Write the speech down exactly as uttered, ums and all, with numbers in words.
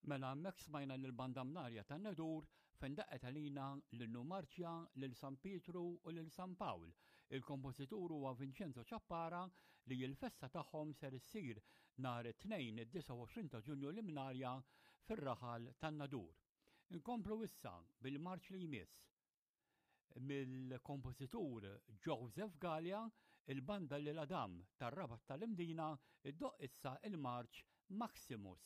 Mela hemmhekk smajna lill-Banda Mnarja tan-Nadur fejn daqqet għalina l-Innu Marċja lil San Pietru u lil San Pawl. Il-kompożitur huwa Vincenzo Ciappara li l-festa tagħhom ser issir nhar it-Tnejn id-disgħa u għoxrin ta' Ġunju l-Imnarja fir-raħal tan-Nadur. Inkomplu issa bil-marċ li jmiss mill-kompożitur Joseph Galea, il-banda Lil Adam tar-Rabat tal-Imdina iddoqq issa il-marċ Maximus.